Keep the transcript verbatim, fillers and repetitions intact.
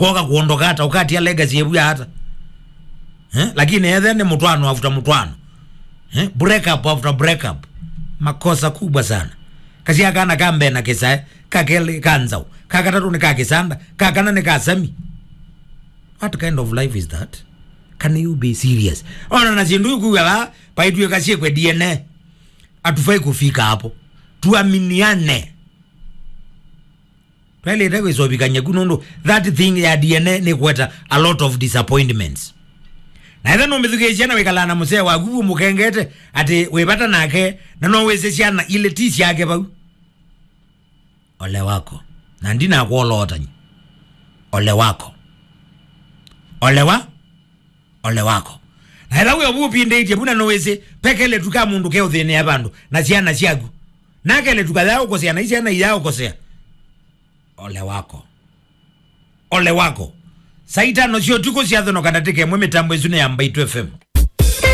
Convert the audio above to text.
Kwoka kuondoka ata, ukatia legacy ebu ya ata? Eh? Lakini ethe ni mutwano after mutwano. Eh? Break up after break up. Makosa kubwa sana. Kasia kana ka mbee na kisae, ka keli ka nzau, ka katatu ni ka kisanda, ka kana ni ka sami. What kind of life is that? Can you be serious? Ona na sindu ikuwa va, paitwe kasie kwe D N A. Hatufai kufika hapo. Tuaminiane. Twailite kwisovikany'a ku nundu that thing ya D N A ni kweta a lot of disappointments. Na etha numithukĩĩsya na wikalaa na musee waku umukengete ati wi vata nake, na no wĩsĩ syana ilĩ ti syake vau. Ole wako. Na ndinakwolootany'a. Ole wako. Ole wa? Ole wako. Na etha wĩ ovu upindĩtye vuna nũwĩsĩ, pekele tu ka mũndũ keũthĩnĩa vandũ na syana syaku. Nakele tu kaya ũkosea na isyana iya ũkosea. Ole wako. Ole wako. Saa itano sya ũtukũ syathonoka ndatĩka ĩmwe mĩtambo ĩsu nĩ ya Mbaitu F M.